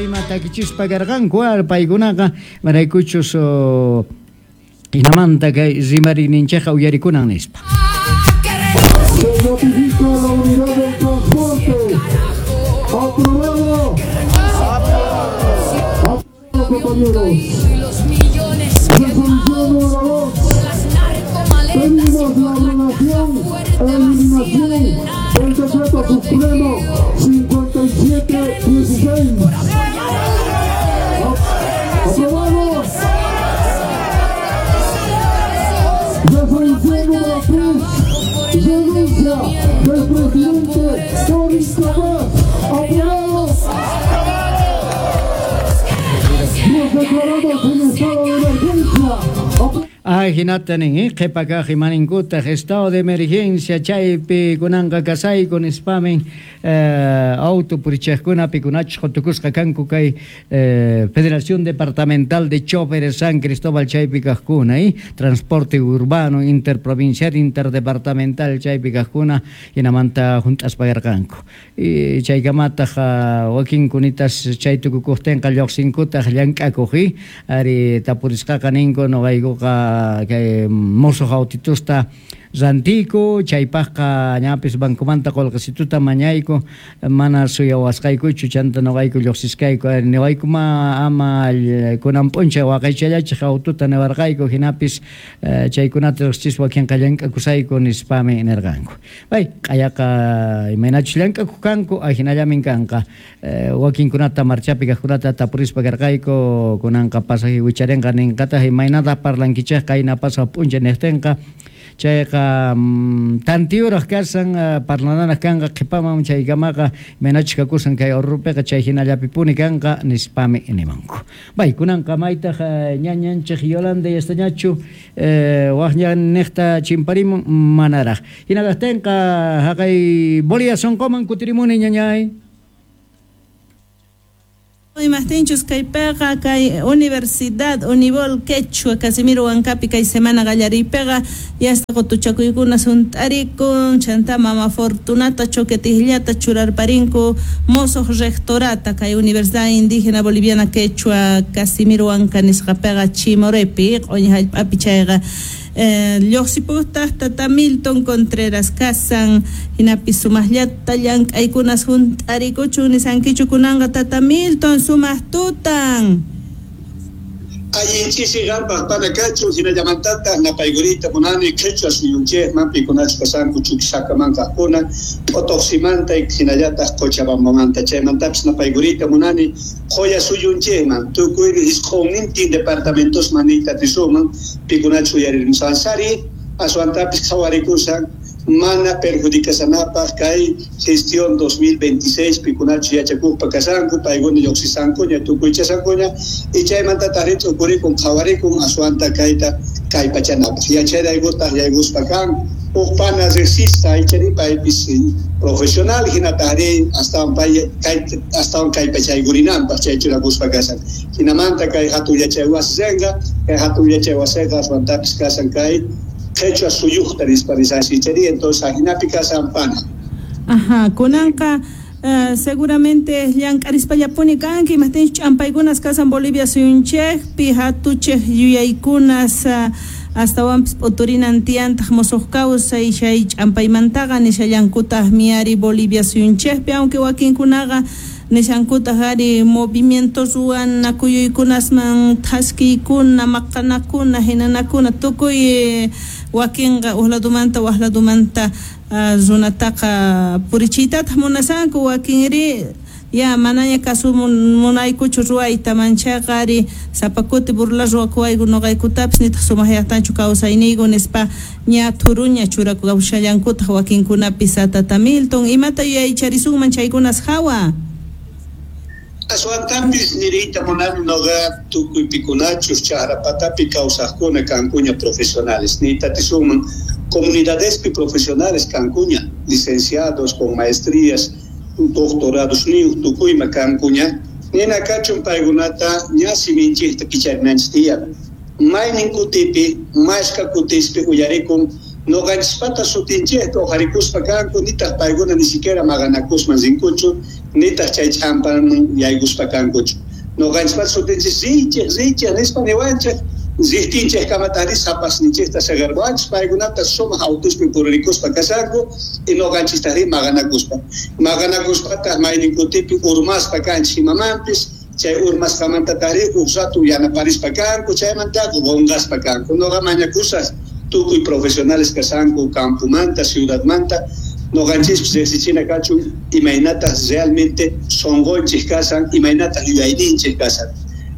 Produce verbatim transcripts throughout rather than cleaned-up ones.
Ima takichispa karqanku paykunaqa maraykuchus hinamanta kay rimariyninchikqa uyarikunan nispa. Se notifica la unidad del transporte. Aprobado. Aprobado, compañeros. Resolución número dos. Pedimos la abrogación e eliminación del decreto supremo cincuenta y siete dieciséis. Aprobado. Resolución número tres. Renuncia del presidente por incapaz. Aprobado. Nos declaramos en estado de emergencia. Ay, hinata nin, qhipakaq imaninkutaj estado de emergencia chaypi kunanqa kasayku nispamin eh, auto purichaqkuna pikunachus qutukusqa kanku kay eh, Federación Departamental de Choferes San Cristóbal chaypi kaqkuna, eh, transporte urbano interprovincial interdepartamental chaypi kaqkuna hinamanta junt'aspa karqanku. Y chaykamataq wakinkunitas chay tukukuqtinqa lluqsinkutaq llank'akuq, eh, ari tapurisqaqa ninku nuqaykuqa kay mosuq autitusta rantiku chaypaqqa ñapis bancomanta qullqisituta mañayku mana suyawasqaykuchu chanta nuqayku lluqsisqayku niwayku ma ama kunan p'unchay waqaychallachik aututa niwarqayku hinapis chaykunata riqsispa wakinqa llank'akusayku nispami nirqanku. Bay q'ayaqa imaynachus llank'akuq kanku ahinallamin kanqa wakinkunata marchapi kaqkunata tapurispa karqayku kunanqa pasaje wicharinqa ninqataq imaynataq parlankichik qayna pasaq p'unchay niqtinqa chayqa tantiyuraq kasan parlananaq kanqa qhipaman chaykamaqa imaynachus kakusan kay Orrupiqa chay hinallapipuni kanqa nispami nimanku. Bay kunanqa maytaq ñañanchik Yolanda yastañachu waq ñanniqta chimparimun manaraq. Hinakaqtinqa haqay Bolivia sunquman kutirimuni ñañay. Imajtinchus kaypiqa kay Universidad Unibol Quechua Casimiro Huancapi kay semana qallariypiqa yasta qutuchakuykuna sunt'arikun chanta mama Fortunata Choquetijllata churarparinku mosuq rectorata kay Universidad Indígena Boliviana Quechua Casimiro Huanca nisqapiqa Chimorepi q'uñi hallp'api chayqa lluqsiputaq tata Milton Contreras kasan hinapi sumaqllata llank'aykunas hunt'arikuchun nisankichu kunanqa tata Milton sumaq tutan. Allinchisi qanpaq pana kachun hinallamantataq napaykuriyta munani qhichwa suyunchikman pikunachus kasanku Chuquisacaman kaqkuna P'utuqsimanta hinallataq Cochabambamanta chaymantapis napaykuriyta munani Qhoya suyunchikman tukuy isqunnintin departamentosman niyta atisunman pikunachus uyarimusqansari aswantapis qhawarikusan mana perjudicasanapaq kay gestión dos mil veintiséis pikunachus yachakuqpa kasanku paykuna lluqsisankuña tukuychasankuña y chaymantataq t'ukurikun qhawarikun aswanta kayta kallpachanapaq yachayraykutaq yaykuspa kan huk pana riqsisqa ichari paypis profesional hinataqri astawan pay kay astawan kallpachaykurinanpaq chay churakuspa kasan hinamanta kay hatun yachay wasiqa kay hatun yachay wasiqa aswantapis kasan kay qhichwa suyuqta nispa risanchik ichari entonces ahinapi kasan pana. Ajá, kunanqa uh, seguramente llank'arispallapuni kanki imajtinchus ch'ampaykunas kasan Bolivia suyunchikpi hatuchik yuyaykunas uh, astawanpis p'uturinan tiyantaq musuq kawsay chay ch'ampaymantaqa nishallankutaq miari Bolivia suyunchikpi aunque wakinkunaqa nishankutaq ari movimientos ruwana kuyuykunasman thaskiykuna maqanakuna hinanakuna tukuy wakinqa uq ladumanta waq ladumanta runataqa purichiytataq munasanku wakinri ya manaña kasu munaykuchu ruwayta manchaqa ari sapa kuti burla ruwakuwayku nuqaykutapis nitaq sumaqllaqtanchu kawsayniyku nispa ña thuruña churakushallankutaq wakinkunapis tata Milton imata yuyaycharisunman chaykunas hawa. Aswantampis niriyta munani nuqa tukuy pikunachus chakrapatapi kawsaqkuna kankuña profesionales niyta atisunman comunidadespi profesionales kankuña licenciados con maestrías doctorados niyuq tukuyma kankuña nina kachun paykunata ña siminchikta kicharinanchik tiyan maynin kutipi mashka kutispi uyarikun Noqanchispata sutinchejta uqharikuspa kanku, nitaq paykuna ni siquiera maqanakusman rinkuchu, nitaq chay ch'ampaman yaykuspa kankuchu. Noqanchispata sutinchej riichej, riichej nispa niwanchej, riqtinchej kamatari sapasninchejta saqerwanchej, paykunata sumaq autuspi puririkuspa kashanku, y noqanchistari maqanakuspa. Maqanakuspataq mayninkutipi urmaspa kanchej imamanpis, chay urmasqamantatari uj ratu yanaparispa kanku, chaymantaqa qonqaspa kanku. Noqa mañakusaj tukuy profesionales kashanku campumanta, ciudadmanta, noqanchispis riqsichina kachun imaynataq realmente sonqonchej kasan, imaynataq yuyayninchej kasan.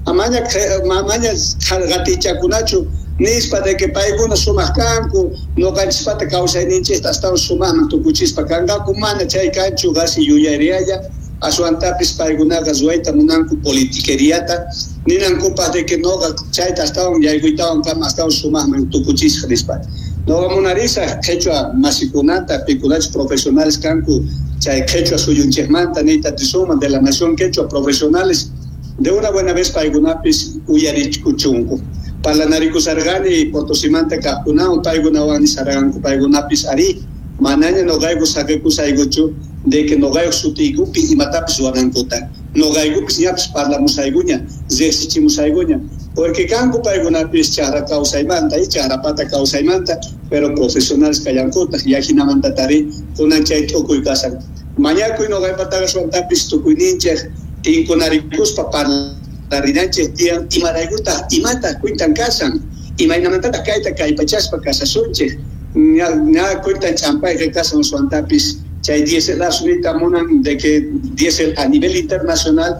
Amaña mamaña qatichakunachu nispa de que paykuna sumaq kanku, noqanchispata kawsayninchejta astawan sumaqman tukuchispa kanqaku, mana chay kanchu qasi yuyariyalla, aswantapis paykunaqa ruwayta munanku politiqueriata, ninankupaq de que noqa chayta astawan yaykuytawan kama astawan sumaqman tukuchisqa nispa. Noqa munarisaq qhichwa masikunata, pikunachus profesionales kanku chay qhichwa suyunchejmanta niyta atisunman de la nación quechua profesionales, de una buena vez paykunapis uyarichkuchunku. Parlanarikusarqani Potosimanta kaqkunawan, paykunawan nisarqanku paykunapis ari, manaña noqayku saqikusaykuchu de que noqayku sutiykupi imatapis ruwanankuta. Noqaykupis ñapis parlamusaykuña, riqsichimusaykuña, porque kanku paykunapis chaqra kawsaymanta y chaqrapata kawsaymanta, pero profesionales kallankutaq, yajinamantatari kunan chay tukuy kasan. Mañakuy noqaypataqa suwantapis tukuyninchej tinkunarikuspa parlarinanchej tiyan imaraykutaq imataq cuentan kasan, imaynamantataq kayta kallpachaspa kasasunchej, ña ña cuentan ch'ampayqa kasan suwantapis chay dieselazo niyta munan de que diésel a nivel internacional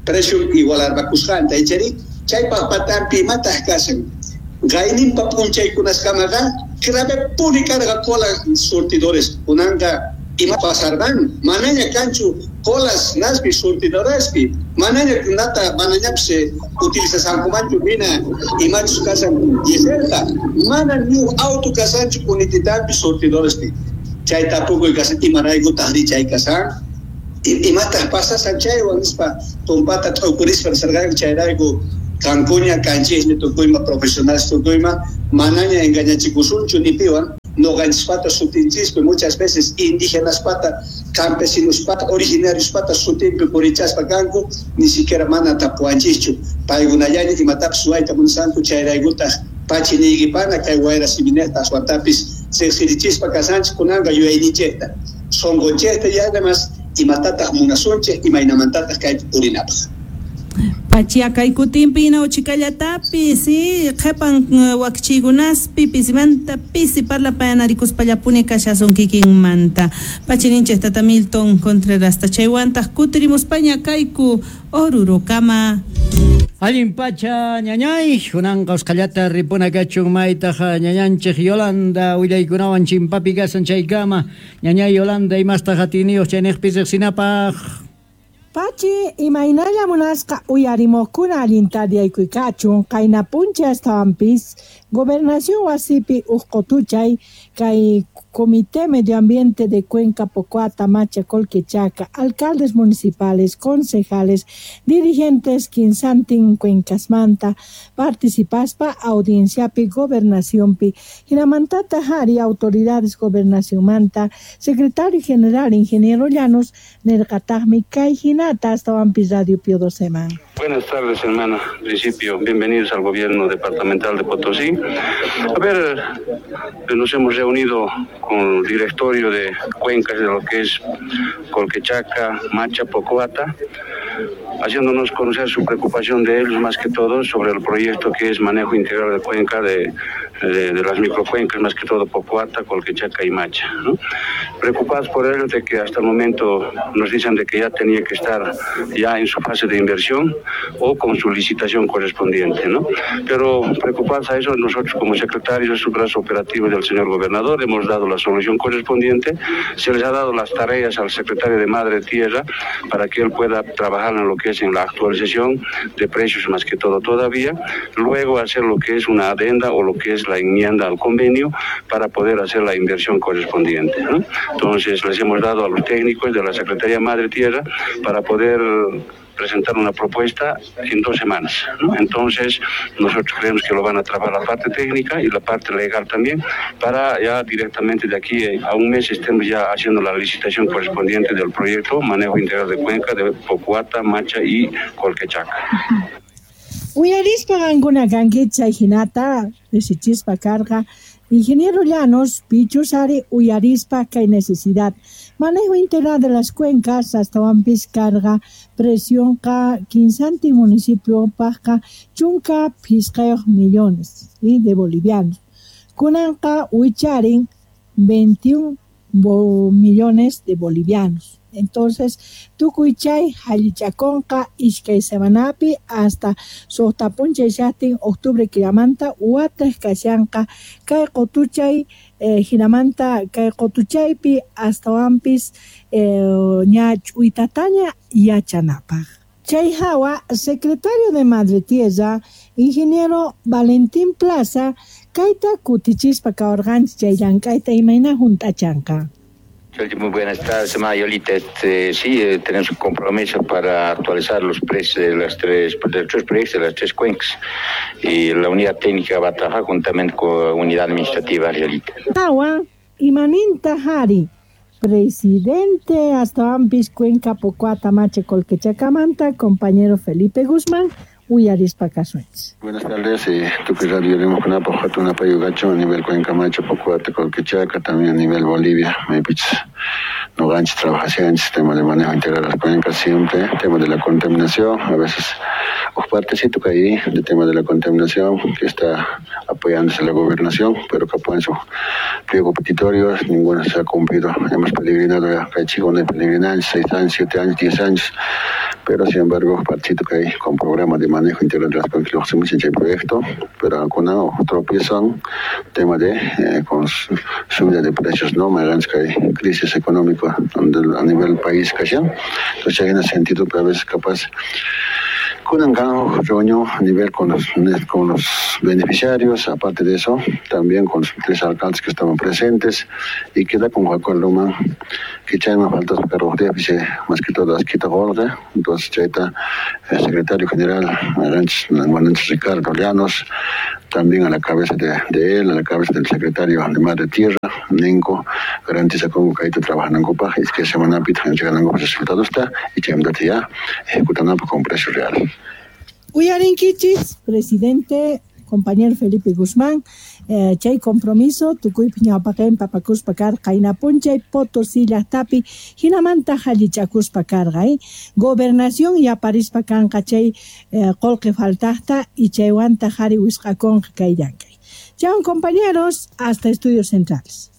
precio igualarpakusqanta, ichari chaypaq patampi imataq kasan. Qayninpa p'unchaykunaskamaqa grave karqa cola surtidores, kunanqa ima pasarban, manaña kanchu colas naspi surtidorespi, manaña nata manañapis utilizasankumanchu hina imachus kasan dieselta, mana ni auto kasanchu kunititampi surtidorespi. Chay tapukuy kasan imaraykutaq ri chay kasan, imataq pasasan chaywan nispa tumpata t'ukurispa nisarqanku, chayrayku kankuña kanchejña tukuyma profesionales tukuyma, manaña engañachikusunchu ni piwan. Noqanchispata sutinchispi muchas veces indígenaspata, campesinospata, originariospata sutinpi purichaspa kanku, ni siquiera mana tapuwanchischu. Paykunallaña imatapis ruwayta munasanku, chayraykutaq pachi niykipana kay wayra siminejta aswantapis riqsirichispa kasanchik kunanqa yuyayninchejta, sonqonchejta y además imatataq munasunchej, imaynamantataq kaypi purinapaq. Pachiakaykutinpi inawchikallatapis, sí, qhepan wakchiykunaspi pisimanta pisi parlapayanarikuspallapuni kashasun kikinmanta. Pachininchej tata Milton Contrerasta chaywantaq kutirimuspaña kayku Orurokama. Allin pacha ñañay, kunanqa usqhallata ripuna kachun maytaq ñañanchej Yolanda willaykunawan chimpapi kasan chaykama. Ñañay Yolanda imastaq atiniyuq chaynejpi riqsinapaq. Pachi, imaynalla munasqa uyarimuqkuna allinta diaykuykachun, qayna puncha astawanpis gobernación wasipi uj qutuchay kay Comité Medio Ambiente de Cuenca, Pocoata, Macha, Colquechaca, alcaldes municipales, concejales, dirigentes kinsantin cuencasmanta, participaspa audienciapi gobernacionpi, hinamantata hari autoridades gobernacionmanta, secretario general ingeniero Llanos, nerqataqmi kay hinata astawanpis Radio Pío Doceman. Buenas tardes, hermana. En principio, bienvenidos al gobierno departamental de Potosí. A ver, nos hemos reunido con el directorio de cuencas de lo que es Colquechaca, Macha, Pocoata, haciéndonos conocer su preocupación de ellos más que todo sobre el proyecto que es manejo integral de cuenca de, de, de las microcuencas, más que todo Pocoata, Colquechaca y Macha, ¿no? Preocupados por ello de que hasta el momento nos dicen de que ya tenía que estar ya en su fase de inversión o con su licitación correspondiente, ¿no? Pero preocupados a eso, nosotros como secretarios de su brazo operativo del señor gobernador hemos dado la solución correspondiente, se les ha dado las tareas al secretario de Madre Tierra para que él pueda trabajar en lo que es en la actualización de precios más que todo todavía, luego hacer lo que es una adenda o lo que es la enmienda al convenio para poder hacer la inversión correspondiente, ¿no? Entonces les hemos dado a los técnicos de la Secretaría Madre Tierra para poder presentar una propuesta en dos semanas, ¿no? Entonces, nosotros creemos que lo van a trabajar la parte técnica y la parte legal también, para ya directamente de aquí a un mes estemos ya haciendo la licitación correspondiente del proyecto Manejo Integral de Cuenca de Pocoata, Macha y Colquechaca. Uyarispa qankuna kankichik chay hinata riqsichispa karqa Ingeniero Llanos, pichus ari uyarispa kay necesidad. Manejo integral de las cuencas astawanpis karqa presionqa kinsantin municipio pajqa chunka phisqayuq millones y de bolivianos. Kunanqa wicharin veintiún millones de bolivianos. Entonces, tukuy chay hallichakonqa iskay semanapi hasta suqta p'unchay llaqtin octubre killamanta wataq kashanqa kay qutuchay eh, hinamanta kay qutuchaypi astawanpis eh, ña ch'uytataña yachanapaq. Chay hawa, secretario de Madre Tierra, ingeniero Valentín Plaza, kayta kutichispa kawarqanchik chay llank'ayta imayna hunt'achanqa. Muy buenas tardes, Mayolita. Este, sí, eh, tenemos un compromiso para actualizar los precios de las tres, de los tres proyectos de las tres cuencas. Y la unidad técnica va a trabajar juntamente con la unidad administrativa, Yolita. Tawa, Imaninta Hari, presidente astawanpis Cuenca Pocoata Macha Colquechacamanta, compañero Felipe Guzmán, uyarispa kasuenchis. Buenas tardes, eh, tukuy radio rimaqkunapaq hatun apayuqachun a nivel Cuenca Macha, Pocoata, Colquechaca, también a nivel Bolivia. Maypichus noqanchis trabajashanchis tema de manejo integral de las cuencas siempre, tema de la contaminación, a veces un partecito que ahí del tema de la contaminación que está apoyándose la gobernación, pero que apoyan sus pliego petitorios, ninguno se ha cumplido. Hemos peregrinado ya, que chico no hay peregrinado, seis años, siete años, diez años, pero sin embargo, partecito que hay con programa de manejo integral de las cuencas, lo hacemos en el proyecto, pero algunos tropiezan, tema de eh, con subida de precios, ¿no? Más que hay crisis económica a nivel país, que entonces hay en ese sentido, pero a veces capaz con un reunión a nivel con los, con los beneficiarios, aparte de eso, también con los tres alcaldes que estaban presentes y queda con Joaquín Luma, que ya me falta pero déficit, más que todo, quita golpe. Entonces, ya está el secretario general, Ricardo Llanos, también a la cabeza de, de él, a la cabeza del secretario de Madre Tierra, Ninko, garantiza con que ahí trabajan en Copa, es que semana pita llegan los resultados está y ya ejecutando con precio real. Uyarinkichis, presidente, compañero Felipe Guzmán, eh, chay compromiso, tukuypi ñawpaqen papakuspa karqa, qayna p'unchay Potosí llaqtapi, hinamanta hallichakuspa karqa, eh? Gobernación yaparispa kanqa chay eh, qullqi faltaqta y chaywanta qhari wisq'akunqa kay llank'ay. Chao compañeros, hasta Estudios Centrales.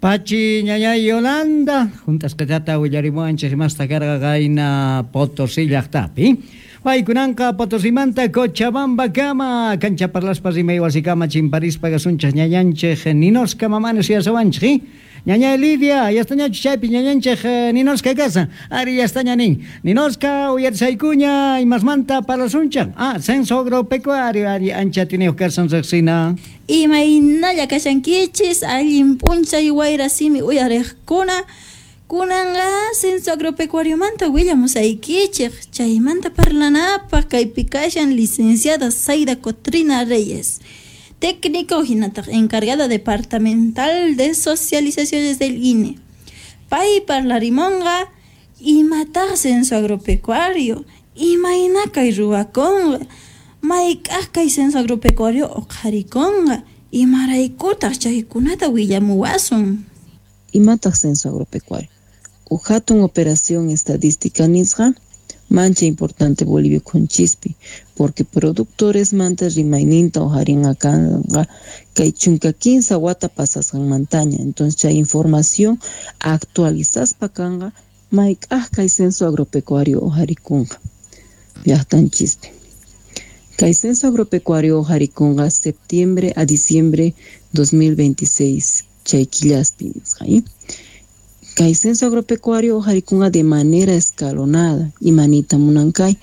Pachi ñañay Yolanda, juntasqatata willarimuwanchik imasta karqa qayna Potosí llaqtapi. Paykunanqa Potosimanta Cochabamba kama kancha parlaspa rimay wasikama chimparispa kasunchik ñañanchik Ninoska mamanes yasawanchik. Ñañay Lidia, yastañachu chaypi ñañanchik Ninoska kasa. Ari yastaña nin. Ninoska uyarisaykuña imasmanta parlasunchik. Ah, censo agropecuario ari ancha tiniyuq kasan riqsina. Imaynalla kashankichis allin p'unchay wayra simi uyariqkuna. Kunanqa censo agropecuariomanta willamusaykichik chaymanta parlanapaq kaypi kashan licenciada Zaida Cotrina Reyes, técnico hinataq encargada departamental de socializaciones del I N E. Pay parlarimonqa imataq censo agropecuario, imayna kay ruwakunqa, mayk'aq kay censo agropecuario uqharikunqa, imaraykutaq chaykunata willamuwasun. Imataq censo agropecuario. Uj hatun operación estadística nisqa mancha importante Bolivia kunchispi porque productores manta rimayninta ujarinqa kanqa kay chunka kinsa wata pasasqanmantaña. Entonces chay información actualizaspa kanqa mayk'aq kay censo agropecuario ujarikunqa llaqtanchispi. Kay censo agropecuario ujarikunqa septiembre a diciembre dos mil veintiséis chay killaspi nisqa. Kay censo agropecuario ujarikunqa de manera escalonada imanita munankay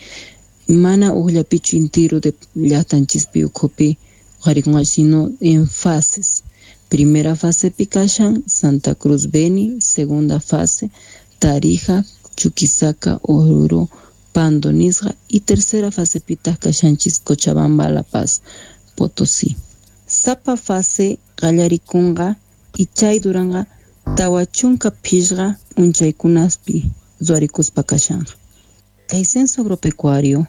mana ujllapichu intiru de llaqtanchispi ukhupi ujarikunqa sino en fases. Primera fase kashan Santa Cruz Beni, segunda fase Tarija, Chuquisaca, Oruro, Pando nisqa y tercera fasepitaq kashanchis Cochabamba, La Paz, Potosí. Sapa fase qallarikunqa y chay duranqa tawa chunka phishqa p'unchaykunaspi ruwarikuspa kashanqa. Kay censo agropecuario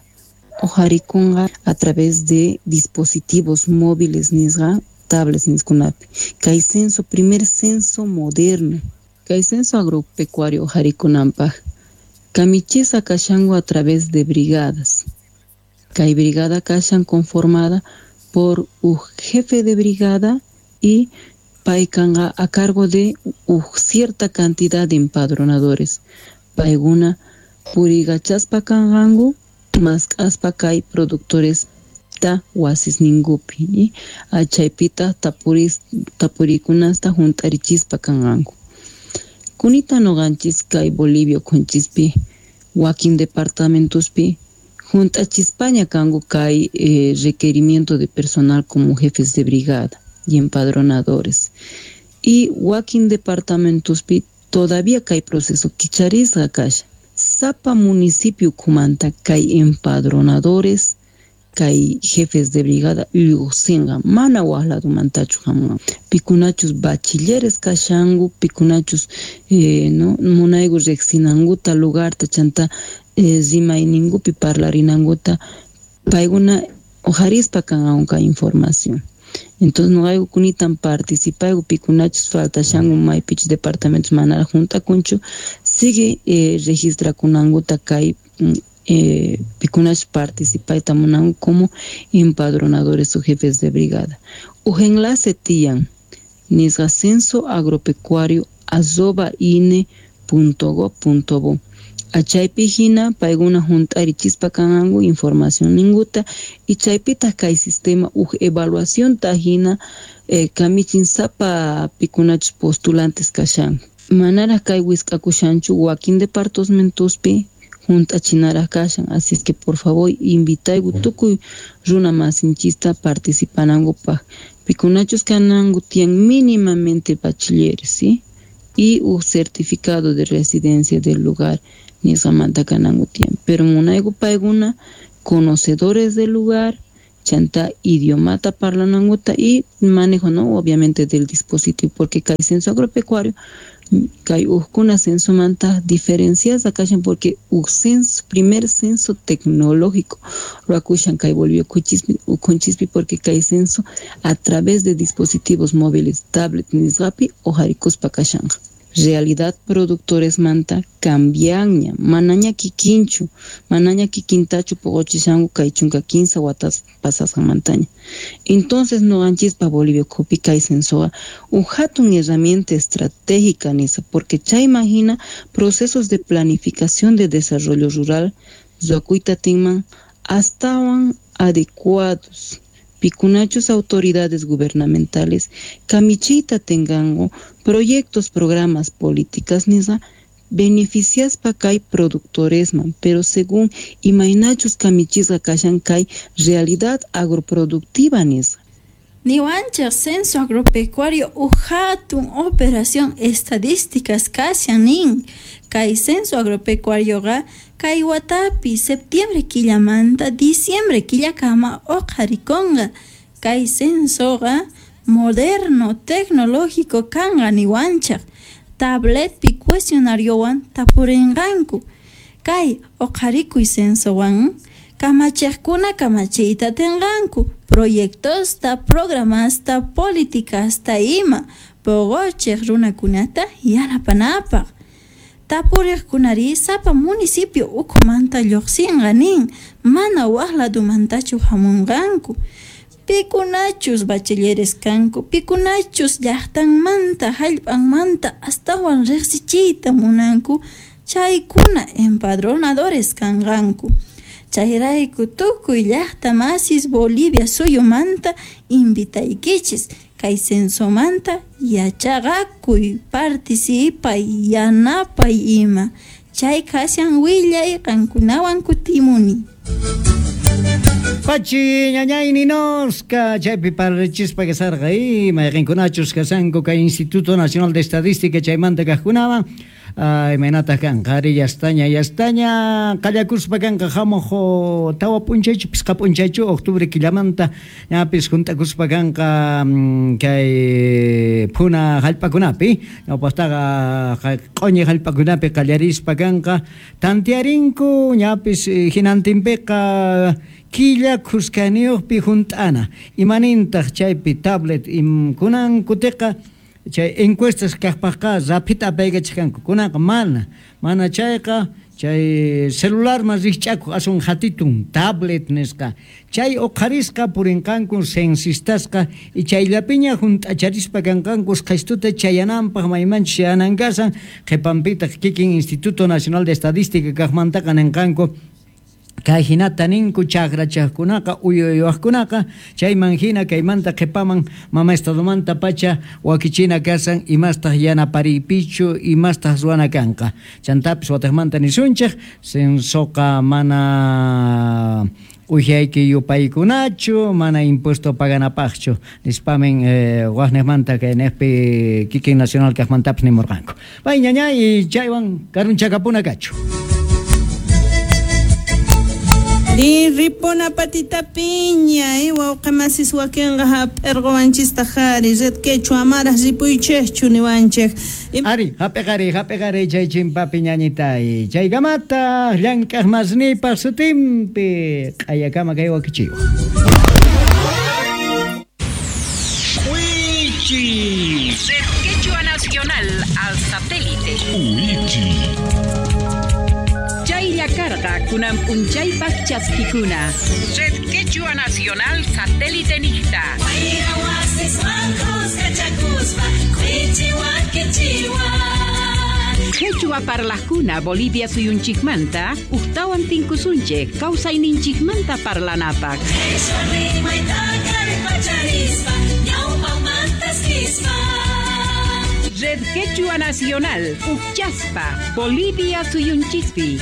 uqharikunqa a través de dispositivos móviles nisqa tablets niskunapi. Kay censo, primer censo moderno. Kay censo agropecuario uqharikunanpaq kamichisqa kashanku a través de brigadas. Kay brigada kashan conformada por un jefe de brigada y paykanqa a cargo de uj cierta cantidad de empadronadores. Paykuna purigachaspa kanqanku mask'aspa kay productores ta wasisninkupi achaypitaq tapuris tapurikunasta hunt'arichispa kanqanku. Kunita nuqanchis kay Bolivia ukhunchispi wakin departamentospi hunt'achispaña kanku kay eh, requerimiento de personal como jefes de brigada y empadronadores. Y wakin departamentospi todavía kay proceso kicharisqa kashan. Sapa municipio ukhumanta kay empadronadores kay jefes de brigada lluqsinqa mana waj ladomantachu hamunqa. Pikunachus bachilleres kashanku, pikunachus eh, no munayku riqsinankuta lugarta chanta eh, rimayninkupi parlarinankuta paykuna uqharispa kanqanku kay información. Entonces nuqayku kunitan participayku pikunachus faltashanku maypichus departamentos manaraq hunt'akunchu sigue eh, registrakunankuta kay eh, pikunachus participayta munanku como empadronadores o jefes de brigada. Uj enlace tiyan nisqa censo agropecuario arroba ine punto gob punto bo. Achaypi hina paykuna hunt'arichispa kanqanku información ninkuta y chaypitaq kay sistema uj evaluacionta hina eh, kamichin sapa pikunachus postulantes kashanku. Manaraq kay wisk'akushanchu wakin departamentospi hunt'achinaraq kashan, así es que por favor invitayku tukuy runa masinchista participanankupaq. Pikunachus kananku tiyan mínimamente bachilleres, ¿sí? Y un certificado de residencia del lugar nisqamanta kananku tiyan. Pero munayku paykuna conocedores del lugar, chanta idiomata parlanankuta y manejo, ¿no? Obviamente del dispositivo, porque kay censo agropecuario kay ujkuna censomanta diferenciasqa kashan porque uj censo, primer censo tecnológico ruwakushan kay Bolivia ukhunchispi porque kay censo a través de dispositivos móviles, tablet nisqapi uqharikuspa kashanqa. Realidad productores manta cambianña, manaña kikinchu, manaña kikintachu poqochishanku kay chunka kinsa watas pasasqanmantaña. Entonces nuqanchispa Bolivia ukhupi kay censoqa uj hatun herramienta estratégica nisa, porque chayman hina procesos de planificación de desarrollo rural ruwakuyta tinman astawan adecuados. Pikunachus autoridades gubernamentales kamichiyta tenganku proyectos, programas, políticas nisqa beneficiaspa kay productoresman, pero según imaynachus kamichisqa kashan kay realidad agroproductiva nisqa. Niwanchej censo agropecuario uj hatun operación estadísticas kashan nin. Kay censo agropecuarioqa kay watapi septiembre killamanta diciembre killakama uqharikunqa. Kay censoqa moderno tecnológico kanqa niwanchej. Tabletpi cuestionariowan tapurinqanku. Kay uqharikuy censowan kamachejkuna kamachiyta tenqanku proyectosta, programasta, políticasta ima poqochej runakunata yanapanapaq. Tapuriqkunari sapa municipio ukhumanta lluqsinqa nin, mana waj ladomantachu hamunqanku. Pikunachus bachilleres kanku, pikunachus llaqtanmanta, hallp'anmanta astawan riqsichiyta munanku, chaykuna empadronadores kanqanku. Chayrayku tukuy llaqta masis Bolivia suyumanta invitaykichis kay censomanta yachaqakuy, participay, yanapay ima. Chay kashan willay qankunawan kutimuni. Pachi ñañay ninoska chaypi parlichispa kasarqa y mayqinkunachus kasanku kay Instituto Nacional de Estadística chaymanta kaqkunawan Imaynataq kanqa ari yastaña yastaña qallakuspa kanqa hamuq tawa p'unchaychu pisqa p'unchaychu octubre killamanta ñapis junt'akuspa kanqa kay phuna hallp'akunapi ñawpaqtaqa q'uñi hallp'akunapi qallarispa kanqa tantiarinku ñapis hinantinpiqa killa khuskaniyuqpi junt'ana imanintaq chaypi tablet kunan kutiqa chay encuestas kaqpaqqa raphita apaykachkanku kunanqa mana mana chayqa chay celularman rikch'akuq asun hatitun tablet nisqa chay uqharisqa purinqanku censistasqa y chayllapiña junt'acharispa kanqanku usqhaystuta chayananpaq maymanchus chayanan kasan qhipanpitaq kikin Instituto Nacional de Estadística kaqmantaqa ninqanku kay hinata ninku chakrachaqkunaqa uyuyuqkunaqa chayman hina kaymanta qhipaman mama estadomanta pacha wakichina kasan imastaq yanapariypichu imastaq ruwana kanqa chantapis wataqmanta nisunchik censoqa mana ujayki yupaykunachu mana impuesto paganapaqchu nispamin eh, waqniqmanta kayniqpi kikin nacional kaqmantapis nimurqanku pay ñañay chaywan karunchakapuna kachu. Ri ripona patita piña, eh, wawqamasis wakinqa hap'irquwanchista qhari, red quechua amaraq ripuychikchu niwanchik. Ari, hap'iqari, hap'iqari chay chimpapi ñañitay. Chaykamataq llank'aq masnipaq sutinpi q'ayakama kay wakichiwa. Wichi. Red Quechua Nacional al satélite. Wichi. Chaylla karqa kunan p'unchaypaq chaskikuna. Red Quechua Nacional satélite niqta. Quechua parlajkuna Bolivia suyunchikmanta uqtawan tinkusunchik kawsayninchikmanta parlanapaq. Red Quechua Nacional, Uchaspa, Bolivia suyunchikpi.